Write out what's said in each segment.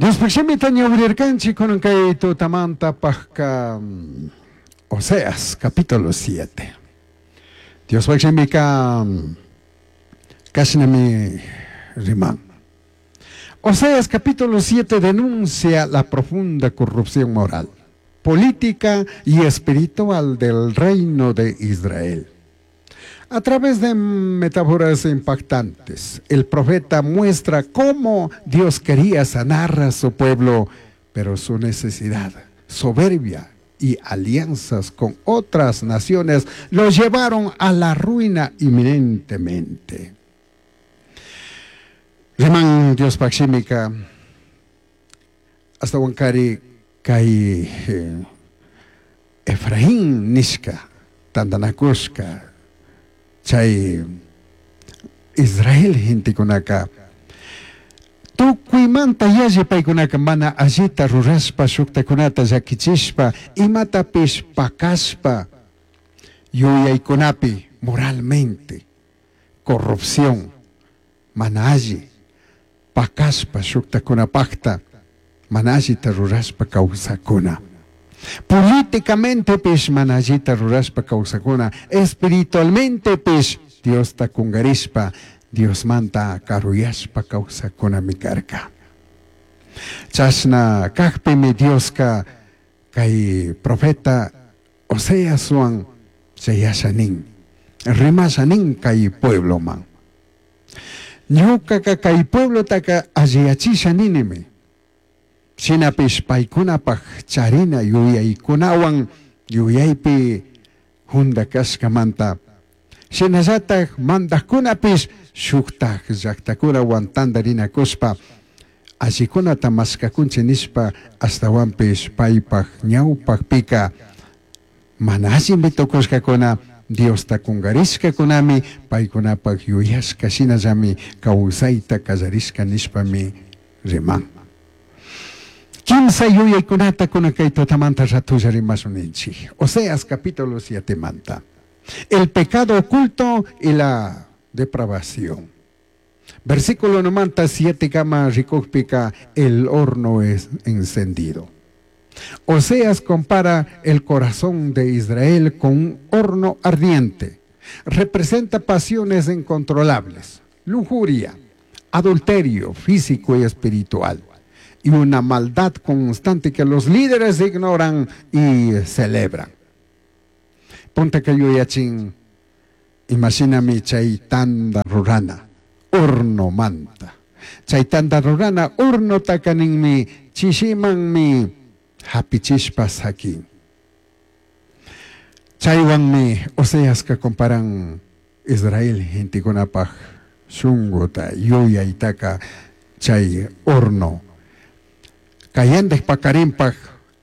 Diospaj shimita ñawirirkanchik kunan kay tutamantapajka Oseas capítulo 7. Diospaj shimika kashnami riman. Oseas capítulo 7 denuncia la profunda corrupción moral, política y espiritual del reino de Israel. A través de metáforas impactantes, el profeta muestra cómo Dios quería sanar a su pueblo, pero su necesidad, soberbia y alianzas con otras naciones lo llevaron a la ruina inminentemente. Riman Diospaj shimika ashtahuancari kay Efraín nishka tandanacushka chay Israel gentekunaka tukuymanta yalli paykunaka mana allita rurashpa shuktakunata llakichishpa imatapish pakashpa yuyaykunapi moralmente corrupción mana alli pakashpa shuktakunapakta mana allita rurashpa kawsakuna. Políticamente mana allita rurashpa kawsakuna, espiritualmente Diosta kungarishpa, Diosmanta karuyashpa kawsakunami karka. Chashna kakpimi Dioska kay profeta Oseaswan chayasha nin, rimasha nin kay puebloman. Ñukaka kay pueblotaka alliyachisha ninimi. Shinapish paykunapaj charina yuyaykunawan yuyaypi junda kashkamanta. Shinallataj mandajkunapish shuktaj llaktakunawan tantarinakushpa allikunata mashkakunchik nishpa ashtawanpish paypaj ñawpakpika mana allimi tukushkakuna Diosta kungarishkakunami paykunapaj yuyashka shinallami kawsayta kallarishka nishpami riman. Kimsa yuyaykunata kunan kay tutamanta ratulla rimashun ninchik. Oseas capítulo 7 manta. El pecado oculto y la depravación. Versículo 97 siete kama rikukpika el horno es encendido. Oseas compara el corazón de Israel con un horno ardiente. Representa pasiones incontrolables, lujuria, adulterio físico y espiritual, y una maldad constante que los líderes ignoran y celebran. Punta que yuyachin, imashinami chay tanda rurana, horno manta. Chay tanda rurana, horno takaninmi, chishimanmi, hapichishpa sakin. Chaywanmi Oseaska comparan Israel gentekunapaj shunguta, yuyaytaka chay horno. Kayandej pakarinpaj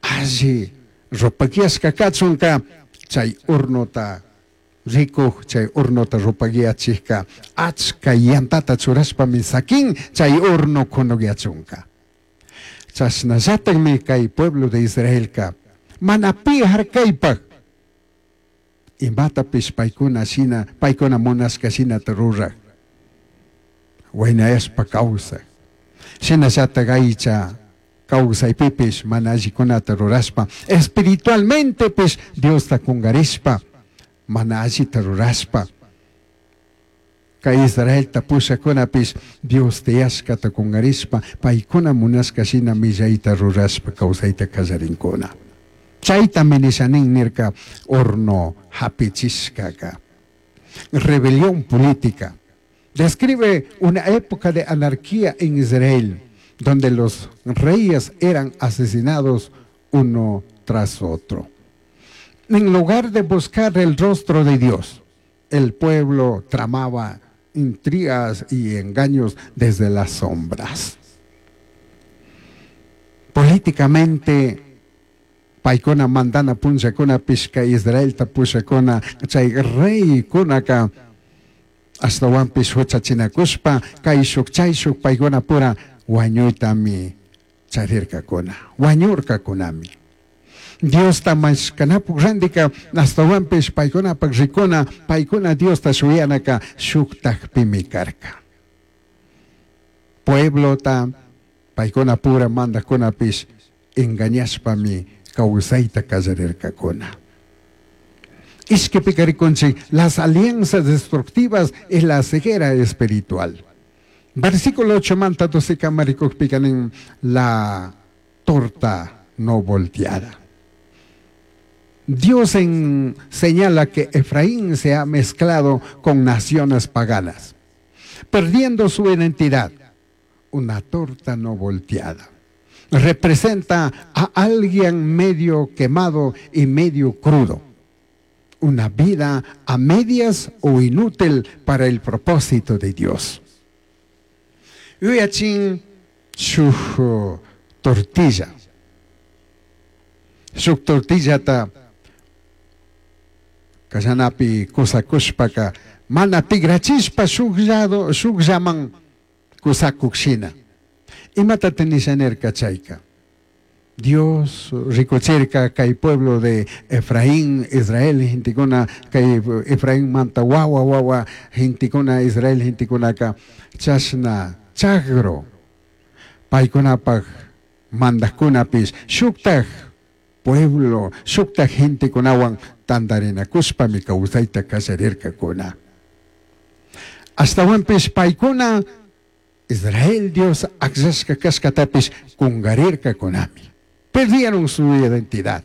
alli rupakiashka kachunka chay hornota rikuj chay hornota rupakiachijka achka yantata churashpami sakin chay horno kunukyachunka. Chashnallatakmi kay pueblo de Israelka mana pi harkaypaj imatapish paykuna shina paykuna munashka shinata ruraj waynayashpa kawsaj shinallatak aycha kawsaypipish mana allikunata rurashpa espiritualmentepish Diosta kungarishpa mana allita rurashpa kay Israelta pushakunapish Dios tiyashkata kungarishpa paykuna munashka shina millayta rurashpa kawsayta kallarinkuna. Chaytami nishanin nirka horno hapichishkaka. Rebelión política. Describe una época de anarquía en Israel, donde los reyes eran asesinados uno tras otro. En lugar de buscar el rostro de Dios, el pueblo tramaba intrigas y engaños desde las sombras. Políticamente, paykuna mandana punllakuna pishka Israelta pushakuna chay reykunaka ashtawanpish huchachinakushpa kayshuk chayshuk paykuna pura wañuytami charirkakuna wañurkakunami. Diosta mashkanapuk randika ashtawanpish paykunapak rikuna paykuna Diosta shuyanaka shuktakpimi karka. Pueblota Paicunapura mandajcunapish engañashpami causaita callarircacuna. Ishquipica ricunchij las alianzas destructivas y la ceguera espiritual. Versículo 8 manta 12 kama ricujpica nin la torta no volteada. Dios señala que Efraín se ha mezclado con naciones paganas, perdiendo su identidad. Una torta no volteada. Representa a alguien medio quemado y medio crudo. Una vida a medias o inútil para el propósito de Dios. Yuyachin shuj tortilla. Shuj tortillata kallanapi kusakushpaka mana tigrachishpa shuj lado shujllaman kusakuj shina. Imatataj nisha nirka chayka? Dios rikuchirka kay pueblo de Efraín, Israel gentekuna, kay Efraín manta wawa wawa gentekuna, Israel gentekunaka chashna chagro paykunapaj mandajkunapish shuktaj pueblo, shuktaj gentekunawan tandarinakushpami kawsayta kallarirkakuna. Ashtawanpish paykuna Israel Dios akllashka kashkatapish kungarirkakunami. Perdieron su identidad.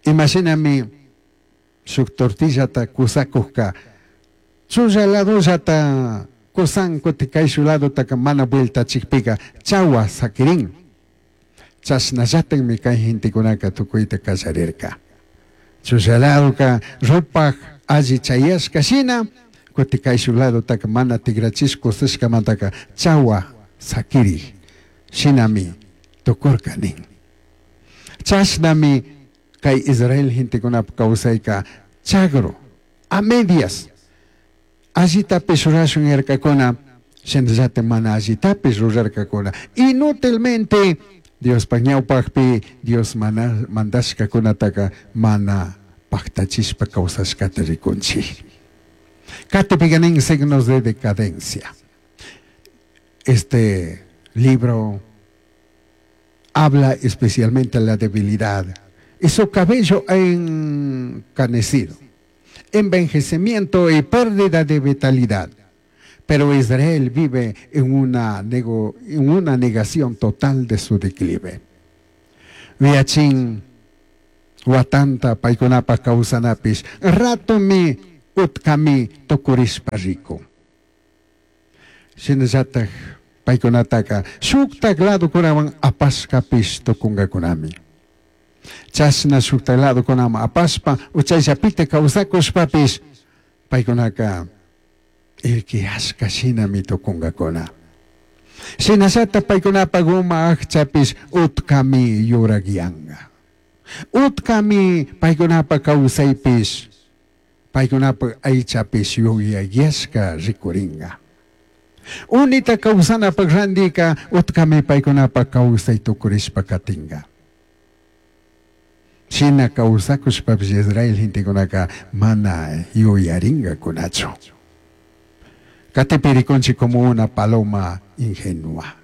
Imashinami shuk tortillata kusakujka chulla ladollata kusan kutin kayshu ladotaka mana vueltachikpika chawa sakirin. Chashnallatakmi kay gentekunaka tukuyta kallarirka. Chulla ladoka rupaj alli chayashka shina kutin kayshu ladotaka mana tigrachish kusashkamantaka chawa sakiri shinami tukurka nin. Chashnami kay Israel gentekunapa kawsayka chagro a medias allitapish rurashun yarkakuna shinallatak mana allitapish rurarkakuna. Inútilmente Diospaj ñawpakpi Dios mana mandashkakunataka mana paktachishpa kawsashkata rikunchik. Katipika nin signos de decadencia. Este libro habla especialmente de la debilidad y su cabello encanecido, envejecimiento y pérdida de vitalidad. Pero Israel vive en una negación total de su declive. Viachin watanta paykunapa kawsanapish ratomi utkami tukurishpa rikun. Shinallatak paykunataka shuktak ladokunawan apashkapish tukunkakunami. Chashna shuktak ladokunaman apashpa uchayllapita kawsakushpapish paykunaka irkiyashka shinami tukunkakuna. Shinallatak paykunapak uma akchapish utkami yurakiyanka. Utkami paykunapak kawsaypish paykunapak aychapish yuyayashka rikurinka. Unita kawsanapak randika utkami paykunapak kawsay tukurishpa katinka. Shina kawsakushpapish Israel gentekunaka mana yuyarinkakunachu. Katipi rikunchik como una paloma ingenua.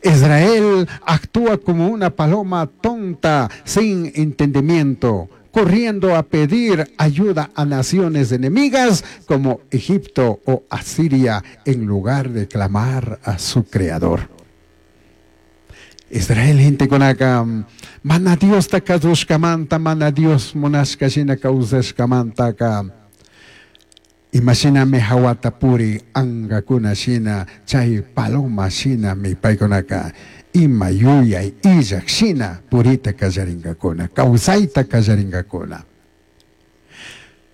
Israel actúa como una paloma tonta, sin entendimiento, corriendo a pedir ayuda a naciones enemigas como Egipto o Asiria, en lugar de clamar a su creador. Israel gentekunaka mana Diosta kasushkamanta, mana Dios munashka shina kawsashkamantaka imashinami hawata puri ankakuna shina chay paloma shinami paykunaka ima yuyay illak shina purita kallarinkakuna, kawsayta kallarinkakuna.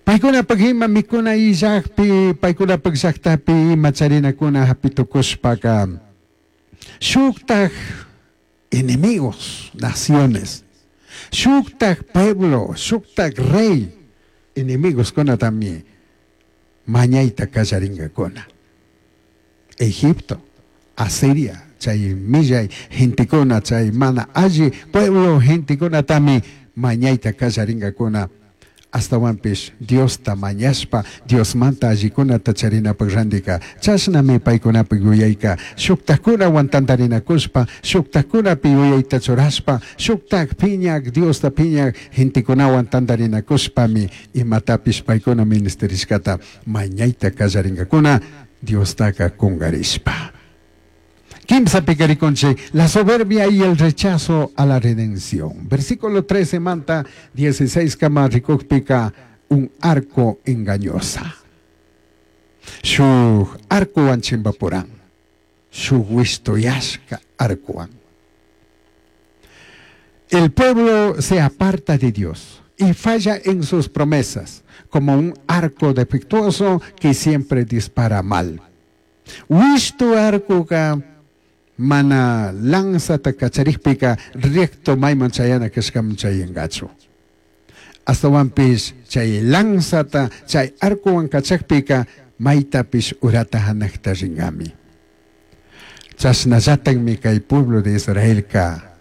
Paykunapak ima mikuna illakpi, paykunapak llaktapi ima charinakuna hapi tukushpaka shuktak enemigos, naciones, shuktak pueblo, shuktak rey, enemigos kunatami mañayta kallarinkakuna. Egipto, Asiria, chay millay gentekuna, chay mana alli pueblo gentekunatami mañayta kallarinkakuna. Ashtahuanpish Diosta mañashpa, Diosmanta allicunata charinapaj randika, chashnami paicunapi yuyaica shujtajcunahuan tandarinacushpa, shujtajcunapi yuyaita churashpa, shujtaj piñaj, Diosta piñaj gentecunahuan tandarinacushpami imatapish paicuna ministerishcata mañaita callaringacuna Diostaca cungarishpa. Kimsapi rikunchik, la soberbia y el rechazo a la redención. Versículo 13 manta 16 kama rikukpika un arco engañosa. Shuj arcowan chimbapuran. Shuj wishtoyashka arcowan. El pueblo se aparta de Dios y falla en sus promesas, como un arco defectuoso que siempre dispara mal. Wishtu arcoka mana lanzata kacharikpika recto mayman chayana kashkaman chayangachu. Ashtawanpish chay lanzata chay arcowan kachakpika maytapish urata hanakta ringami. Chashnallatakmi kay pueblo de Israelka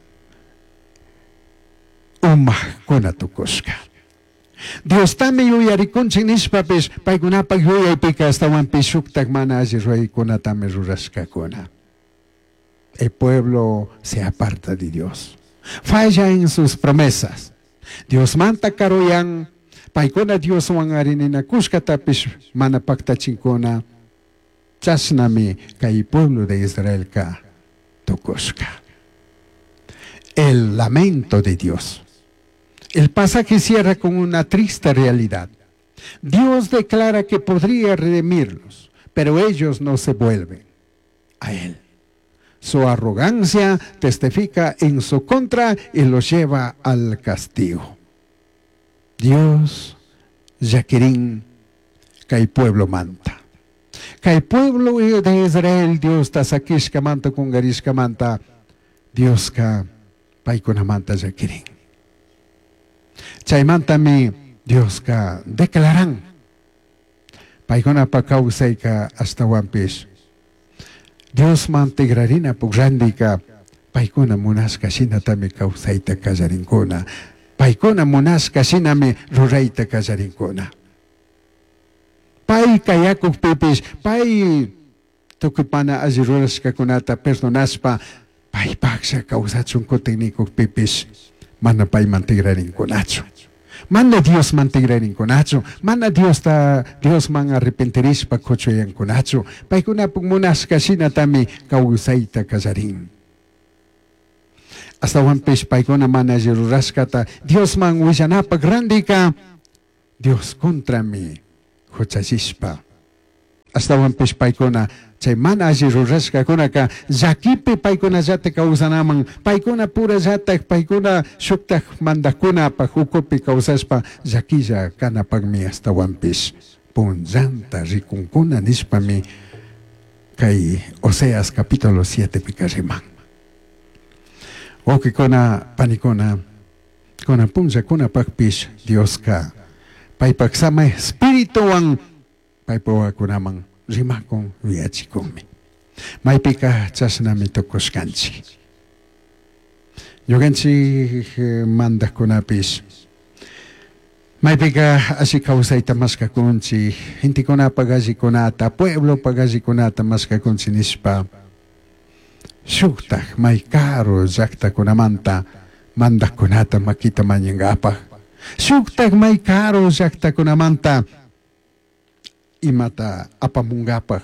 umajkuna tukushka. Diostami yuyarikunchik nishpapish paykunapak yuyaypika ashtawanpish shuktak mana alli ruraykunatami rurashkakuna. El pueblo se aparta de Dios. Falla en sus promesas. Dios manta karuyan, paykuna Dioswan arininakushkatapish mana paktachinkuna. Chashnami kay pueblo de Israelka tukushka. El lamento de Dios. El pasaje cierra con una triste realidad. Dios declara que podría redimirlos, pero ellos no se vuelven a Él. Su arrogancia testifica en su contra y los lleva al castigo. Dios llakirin kay pueblo manta. Kay pueblo de Israel Dios ta sakishkamanta kungarishkamanta Dioska paykunamanta llakirin. Chaymantami Dioska declaran paykunapa kawsayka ashtawanpish Diosman tigrarina randika paykuna munashka shinatami kawsayta kallarinkuna. Paykuna munashka shinami rurayta kallarinkuna. Pay kayakukpipish pay tukuy mana alli rurashkakunata perdonashpa paypaklla kawsachun kutin nikukpipish mana payman tigrarinkunachu. Mana Diosman tigrarinkunachu, mana Diosta Diosman arrepentirishpa kuchuyankunachu. Paykunapuk munashka shinatami kawsayta kallarin. Ashtawanpish paykuna mana alli rurashkata Diosman willanapak randika Dios contrami huchallishpa. Ashtawanpish paykuna chay mana alli rurashkakunaka llakipi paykunallata kawsanaman, paykuna purallatak, paykuna shuktak mandakkunapak ukupi kawsashpa llakilla kanapakmi ashtawanpish punllanta rikunkuna nishpami kay Oseas capítulo 7 pika riman. Wawqikuna, panikuna, kunan punllakunapakpish Dioska paypak sama espirituwan paypa wawakunaman rimakun yuyachikunmi. Maypika chashnami tukushkanchik. Ñukanchik mandakkunapish maypika alli kawsayta mashkakunchik, gentekunapak allikunata, pueblopak allikunata mashkakunchik nishpa shuktak may karu llaktakunamanta mandakkunata makita mañankapak, shuktak may karu llaktakunamanta imata apamunkapak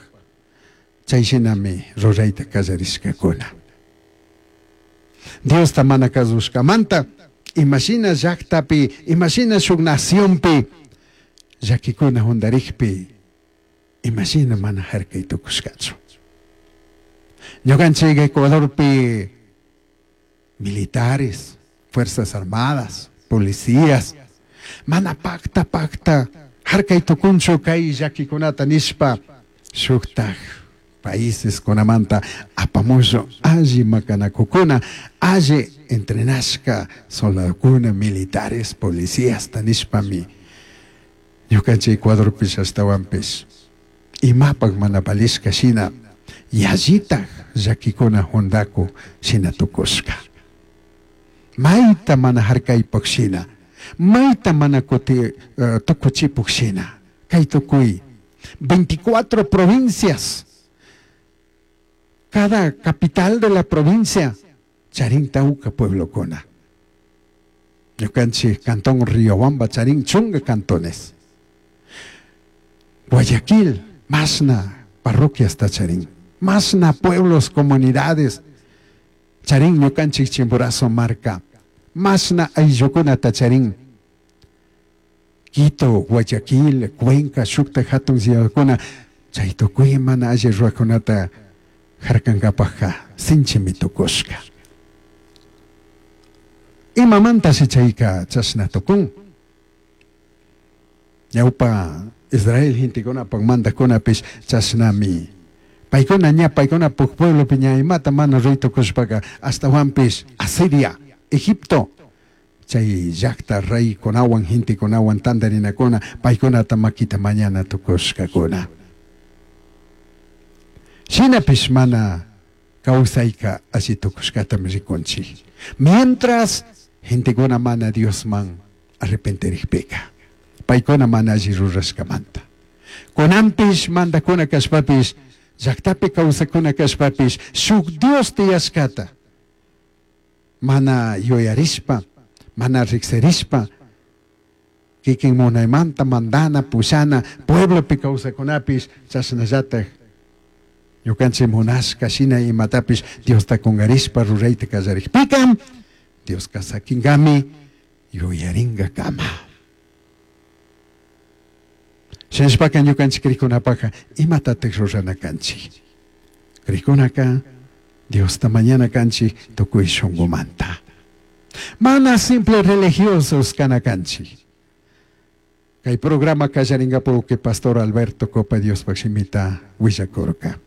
chay shinami rurayta kallarishkakuna. Diosta mana kasushkamanta imashina llaktapi, imashina shuk nacionpi llakikuna hundarikpi imashina mana harkay tukushkachu. Ñukanchik Ecuadorpi militares, fuerzas armadas, policías, mana pakta pakta harkay tukunchu kay llakikunata nishpa shuktak países kunamanta apamushu alli makanakukuna, alli entrenashka soldadokuna, militares, policías nishpami ñukanchik Ecuadorpish ashtawanpish imapak mana valishka shina yallitak llakikuna hundaku shina tukushka. Mayta mana harkaypak shina. Maita mana kuti tucuchipuj shina. Kay tukuy 24 provincias. Cada capital de la provincia charin tauca pueblokuna. Ñukanchik cantón Riobamba charin chunga cantones. Guayaquil, mashna parroquias charin. Mashna pueblos, comunidades. Charin ñukanchik Chimborazo marca. Mashna ayllukunata charin. Quito, Guayaquil, Cuenca, shukta hatun ciudadkuna chay tukuy mana alli ruwakunata harkankapajka sinchimi tukushka. Imamantashi chayka chashna tukun. Ñawpa Israel gentekunapak mandajkunapish chashnami. Paykuna ña paykunapuk pueblopi ña imata mana ruy tukushpaka ashtawanpish Asiria, Egipto chay llakta reykunawan gentekunawan tantarinakuna paykunata makita mañana tukushkakuna. Shinapish mana kawsayka alli tukushkatami rikunchik. Mientras gentekuna mana Diosman arrepentirikpika, paykuna mana alli rurashkamanta. Kunanpish mandakuna kashpapish, llaktapi kawsakuna kashpapish, shuk Dios tiyashkata mana yuyarishpa, mana riksirishpa, kikin munaymanta mandana, pushana, pueblopi kawsakunapish chashnallatak ñukanchik munashka shina imatapish Diosta kungarishpa rurayta kallarikpika, Dioska sakinkami yuyaringakama. Shinashpaka ñukanchik krikunapaka imatatak rurana kanchik. Krikunaka Diosta mañana kanchik tukuy shunqumanta. Mana simple religiosos kana kanchik. Kay programa kallarinkapuki Pastor Alberto Copa Diospaj shimita willakurka.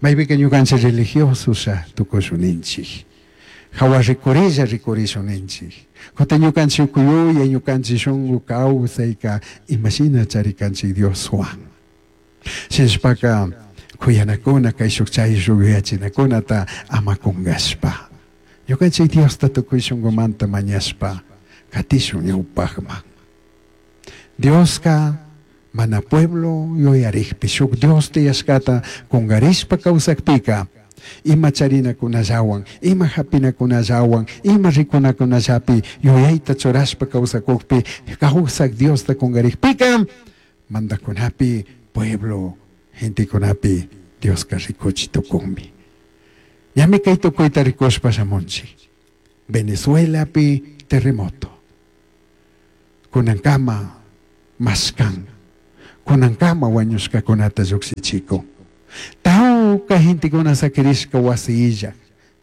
Maypika ñukanchik religiosos tukushuninchik. Hawa rikurilla rikurishunninchik. Kutin ñukanchik ukuyuya ñukanchik shunku kawsayka imashina charikanchik Dioswan. Shinashpaka kuyanakuna kayshuk chayshuk yuyachinakunata ama kunkashpa. Ñukanchik Diosta tukuy shunkumanta mañashpa katishun ñawpakman. Dioska mana pueblo yuyarikpi shuk Dios tiyashkata kunkarishpa kawsakpika ima charinakunallawan, ima hapinakunallawan, ima rikunakunallapi yuyayta churashpa kawsakukpi kawsak Diosta kunkarikpika mandakunapi pueblo gentekunapi Dioska rikuchi tukunmi. Ñami kay tukuyta rikushpa shamunchik. Venezuelapi terremoto. Kunankama mashkan. Kunankama wañushkakunata llukshichikun. Tawka gentekuna sakirishka wasi illak,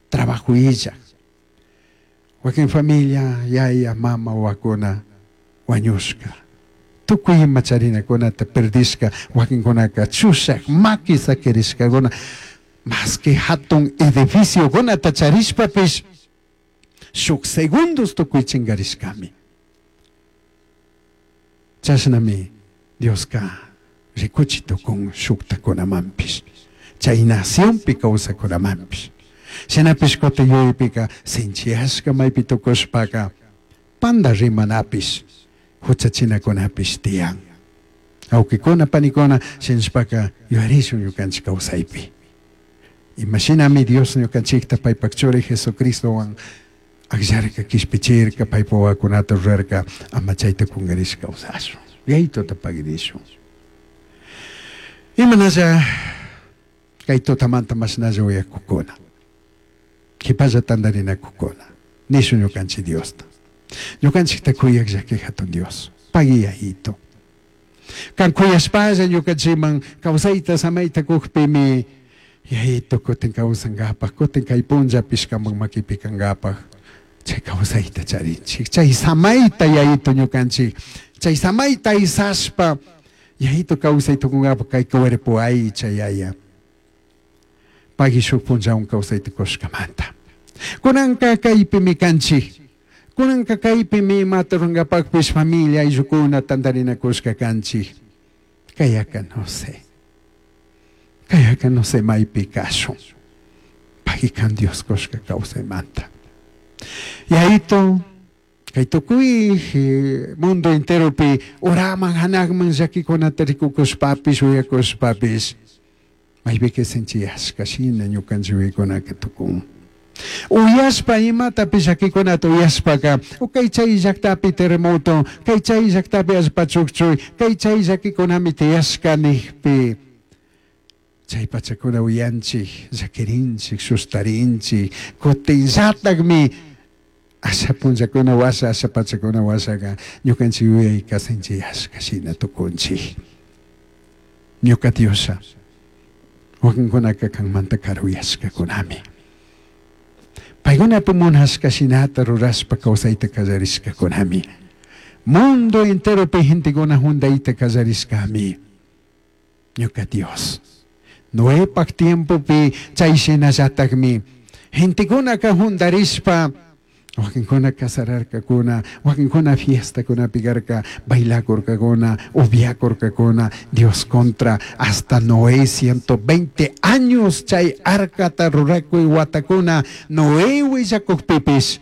trabajo illak. Wakin familia, yaya, mama, wawakuna wañushka. Tukuy ima charinakunata perdishka, wakinkunaka chushak, maki sakirishkakuna. Maski hatun edificiokunata charishpapish shuk segundos tukuy chinkarishkami. Chashnami Dioska rikuchi tukun shuktakunamanpish, chay nacionpi kawsakunamanpish. Shinapish kutin yuyaypika sinchiyashka maypi tukushpaka panda rimanapish, huchachinakunapish tiyan. Awkikuna, panikuna, shinashpaka yuyarishun ñukanchik kawsaypi. Imashinami Dios ñukanchikta paypak churi Jesucristowan akllarka, kishpichirka, paypa wawakunata rurarka, ama chayta kunkarish kawsashun. Yayituta pagirishun. Imanalla kay tutamanta mashnalla uyakukuna, kipalla tantarinakukuna, nishun ñukanchik Diosta. Ñukanchikta kuyak llaki hatun Dios, pagui yayito. Kan kuyashpalla ñukanchikman kawsayta samayta kukpimi yayito kutin kawsankapak, kutin kay punllapish kanpak makipi kankapak, chay kawsayta charinchik, chay samayta yayito ñukanchik, chay samayta aysashpa yayito kawsay tukunkapak kay cuerpo aycha yaya. Pagui shuk punllawan kawsayta kushkamanta. Kunanka kaypimi kanchik, kunanka kaypimi imata rurankapakpish familia ayllukuna tantarinakushka kanchik. Kayaka no sé. Kayaka no sé maypi kashun. Pagui kan Dios kushka kawsaymanta. Yayito, Kay tukuy mundo enteropi uraman hanaqman llakikunata rikukushpapish uyakushpapish maypika sinchiyashka shina ñukanchik yuyaykunaka tukun. Uyashpa imatapish llakikunata uyashpaka o kay chay llaktapi terremoto, kay chay llaktapi allpa chukchuy, kay chay llakikunami tiyashka nijpi chay pachakuna uyanchik, llakirinchik, sustarinchik, kutinllatakmi asha punllakuna washa, asha pachakuna washaka ñukanchik yuyayka sinchiyashka shina tukunchik. Ñuka Dioslla, wakinkunaka kanmanta karuyashkakunami. Paykunapi munashka shinata rurashpa kawsayta kallarishkakunami. Mundo enteropi gentekuna juntayta kallarishkami. Ñuka Dios. Noepak tiempopi chay shinallatakmi gentekunaka juntarishpa wakinkuna casararkakuna, wakinkuna fiestakunapi karka, bailakurkakuna, upiakurkakuna, Dios contra hasta Noé 120 años chay arcata rurakuy watakuna Noé willakukpipish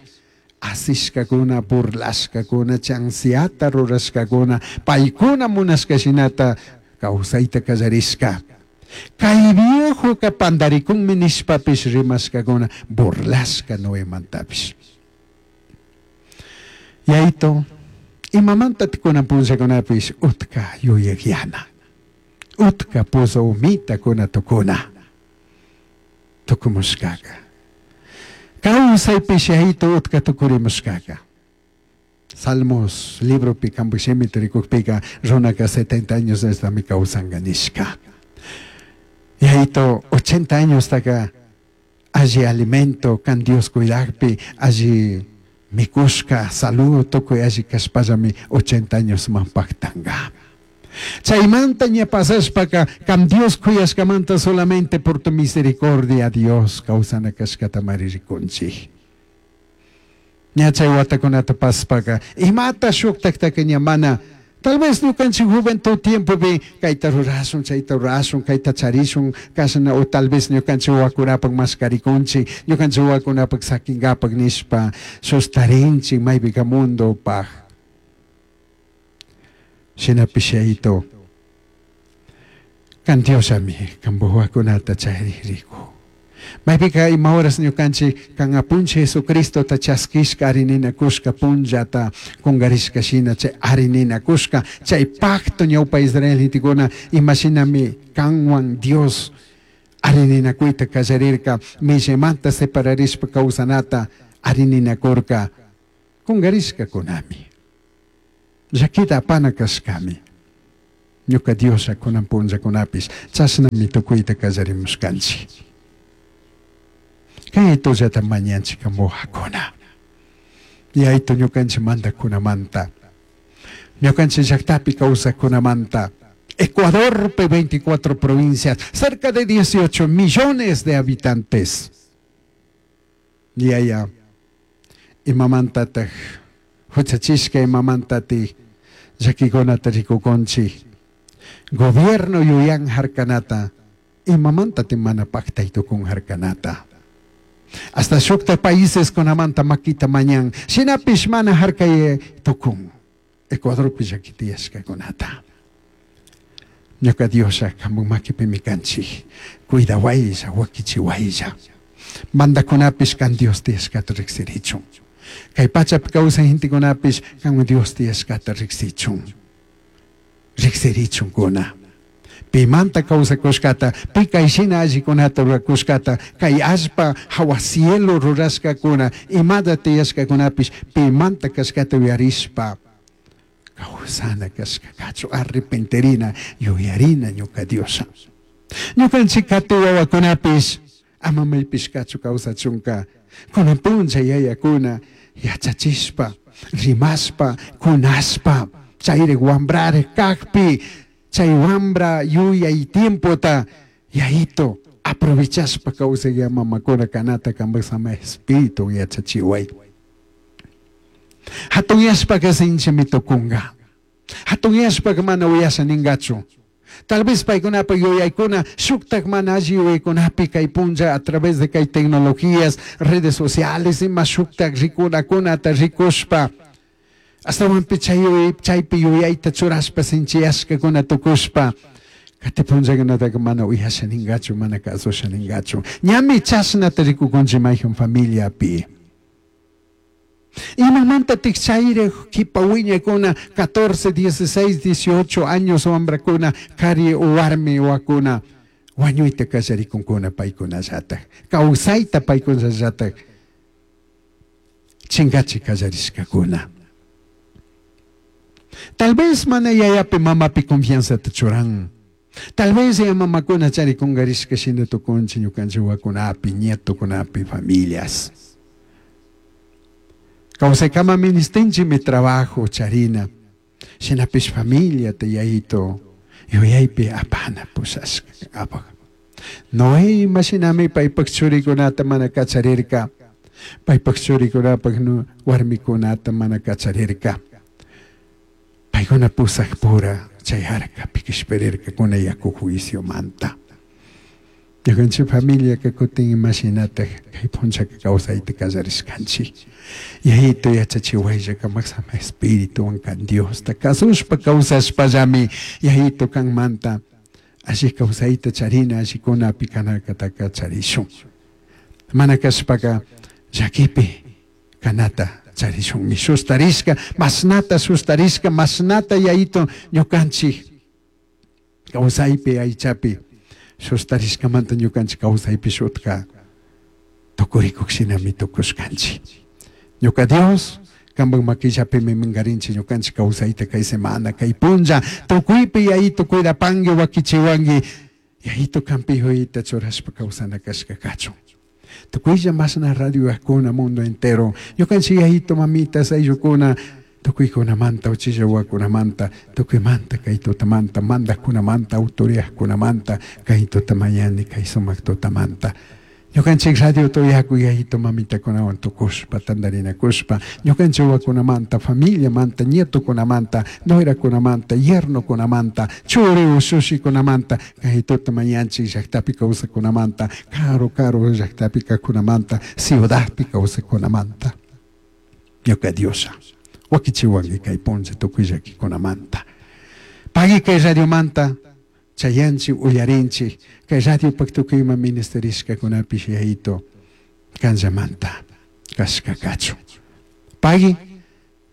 asishkakuna, burlashkakuna, chansiata rurashkakuna, paykuna munashka shinata kawsayta kallarishka. Kay viejoka pandarikunmi nishpapish rimashkakuna, burlashka Noemantapish. Yayito, imamanta kunan punllakunapish utka yuyakyana, utka pozo umitakuna tukuna, tukumushkaka. Kawsaypish yayito utka tukurimushkaka. Salmos libropi kanpak shimita rikukpika runaka 70 años estami kawsanka nishka. Yayito 80 años taka alli alimento kan Dios cuidakpi, alli mikushka, salud tukuy alli kashpallami 80 años man paktanka. Chaymanta ña pasashpaka kan Dios kuyashkamanta solamente por tu misericordia Dios kawsana kashkata mari rikunchik. Ña chay watakunata pasashpaka imata shuktaktaka ña mana tal vez ñukanchik juventud tiempopi kayta rurashun, chayta rurashun, kayta charishun, kashna o tal vez ñukanchik wawakunapak mashkarikunchik, ñukanchik wawakunapak sakinkapak nishpa sustarinchik maypika mundopaj. Shinapish yayito, kan Diosllami kanpak wawakunata charirikun. Maypika ima horas ñukanchik kan apunchik Jesucristota chaskishka arininakushka punllata kungarishka shina chay arininakushka chay pacto ñawpa Israel gentekuna imashinami kanwan Dios arininakuyta kallarirka millamanta separarishpa kawsanata arininakurka kungarishkakunami. Llakita apana kashkami. Ñuka Dioslla kunan punllakunapish chashnami tukuyta kallarimushkanchik. Kay tullata mañanchik kambujakuna. Yayto ñukanchik mandakunamanta, ñukanchik llaktapi kawsakkunamanta, Ecuadorpi 24 provincias, cerca de 18 millones de habitantes. Yaya, imamantataj huchachishka imamantatik llakikunata rikukunchik. Gobierno yuyan harkanata, imamantatik mana paktay tukun harkanata. Hasta shukta países kunamanta makita mañan, shinapish mana harkay tukun. Ecuadorpi llaki tiyashkakunata. Ñuka Dioslla kanpak makipimi kanchik, cuidawaylla, wakichiwaylla. Mandakunapish kan Dios tiyashkata riksirichun. Kay pachapi kawsay gentekunapish kan Dios tiyashkata riksichun. Riksirichunkuna. Pimanta kawsakushkata, pi kay shina allikunata rurakushkata, kay allpa hawa cielo rurashkakuna, imata tiyashkakunapish pimanta kashkata uyarishpa kawsana kashkakachu, arrepentirina, yuyarina ñuka Dioslla. Ñukanchik kati wawakunapish ama maypishkachu kawsachunka, kunan punlla yayakuna yachachishpa, rimashpa, kunashpa, chayrik wambrarik kakpi, chay wambra yuyay tiempota yayito aprovechashpa kawsay mamakuna kanata kanpak sama espíritu yachachiway. Hatunyashpaka sinchimi tukunka. Hatunyashpaka mana uyasha ningachu. Tal vez paykunapa yuyaykuna shuktak mana alli yuyaykunapi kay punlla a través de kay tecnologías, redes sociales ima shuktak rikunakunata rikushpa Ashtahuanpi chay chaypi yuyayta churashpa sinchiyashkakuna tukushpa kati punllakunataka mana uyasha ningachu, mana kasusha ningachu. Ñami chashnata rikukunchik mayjan familiapi. Imamantatik chayri kipa wiñaykuna 14, 16, 18 años wambrakuna kari warmi wakuna wañuyta kallarikunkuna paykunallatak kawsayta paykunallatak chinkachi kallarishkakuna. Tal vez mana yayapi mamapi confianzata churan. Tal vez ya mamakuna charikunkarishka shina tukunchik ñukanchik wawakunapi, nietokunapi, familias. Kawsaykama ministinchikmi trabajo charina, shinapish familiata yayito yuyaypi apana pushashka apak. Noé imashinami paypak churikunata mana kacharirka, paypak churikunapak warmikunata mana kacharirka. Paykuna pusakpura chay arcapi kishpirirkakuna yaku juiciomanta. Ñukanchik familiaka kutin imashinatak kay punllaka kawsayta kallarishkanchik. Yayito yachachiwaylla kamak sama espirituwan kan Diosta kasushpa kawsashpallami yayito kanmanta alli kawsayta charina allikunapi kanakataka charishun. Mana kashpaka llakipi kanata charishunmi sustarishka, mashnata sustarishka, mashnata yayito ñukanchik kawsaypi aychapi sustarishkamanta ñukanchik kawsaypi shutka tukurikuk shinami tukushkanchik. Ñuka Dios kanpak makillapimi minkarinchik ñukanchik kawsayta kay semana kay punlla tukuypi yayito cuidapanki wakichiwanki yayito kanpi yuyayta churashpa kawsana kashka kachun. Tukuylla mashna radio mundo entero ñukanchik yayito mamitas ayllukuna tukuykunamanta uchilla wawakunamanta tukuymanta kay tutamanta mandakkunamanta autoridadkunamanta kay tuta mañani kay sumak tutamanta. Ñukanchik radio tuyakuy yayito mamitakunawan tukushpa tantarinakushpa ñukanchik wawakunamanta familiamanta nietokunamanta nuerakunamanta yernokunamanta churi ushushikunamanta kay tuta mañanchik llaktapi kawsakunamanta karu karu llaktapi kawsakunamanta ciudadpi kawsakunamanta. Ñuka Dioslla wakichiwanki kay punlla tukuy llakikunamanta. Pagui kay radiomanta chayanchik uyarinchik kay radiopak tukuy ima ministerishkakunapish yayito kanllamanta kashka kachun. Pagui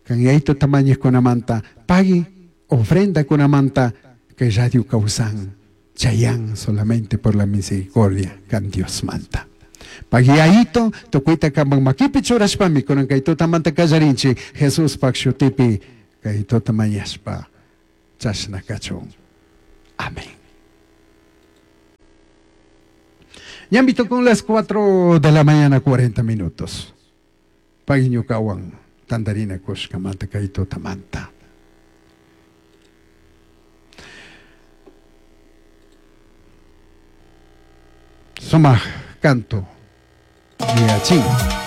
kan yayito tamañokunamanta pagui ofrendakunamanta kay radio kawsan chayan solamente por la misericordia kan Diosmanta. Pagui yayito tukuyta kanpak makipi churashpami kunan kay tutamanta kallarinchik Jesuspak shutipi kay tuta mañashpa chashna kachun. Amén. Ñambito con las 4 de la mañana 40 minutos. Pagui ñukawan tantarina kushkamanta kay tutamanta. Sumak canto yuyachin.